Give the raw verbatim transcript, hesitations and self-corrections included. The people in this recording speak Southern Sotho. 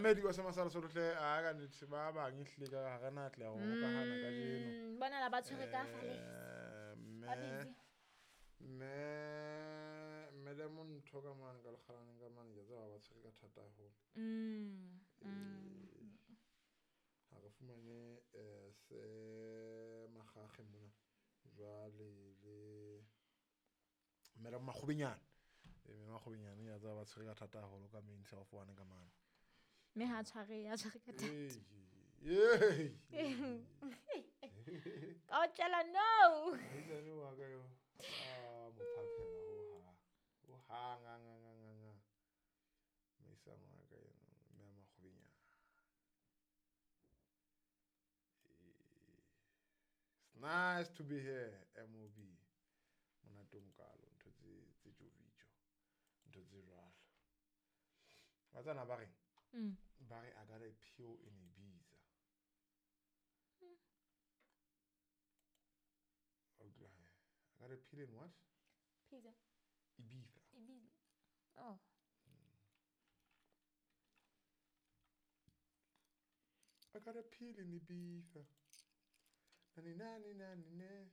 Mamedi wa Semasala Solotle a ka nnete ba bang ehlile ka ha re na atleha ho hokahana kajeno. Mm, bona la ba tshwere ka fale. Eh, Ba mme busy. mme mme le montho ka mane ka lekgalaneng ka mane ke a tseba ba tshwere ka thata haholo. Mm. Mm. Ha re fumane eh, se makgakge mona jwale le mme le makgobenyane. Eh, mme makgobenyane ke a tseba ba tshwere ka thata haholo ka main self one ka mane. Mme ha tshware ya tshware ka thata. Ee, Ka o tjela no. Moahisane wa ka eo, a mo phaphela hohang. Hohang, hang, hang, hang, hang, hang. Moahisane wa ka eno, mme a makgobenyane. It's nice to be here, M O B. Monate o mokalo, ntho tse tse jovijo, ntho tse jwalo. Wa tsana ba reng? Mm. Ba re I got a pill in Ibiza. Mm. I got a pill in what? Pizza. Ibiza. Ibiza. Oh. Mm. I got a pill in Ibiza. Nani nani nani ne.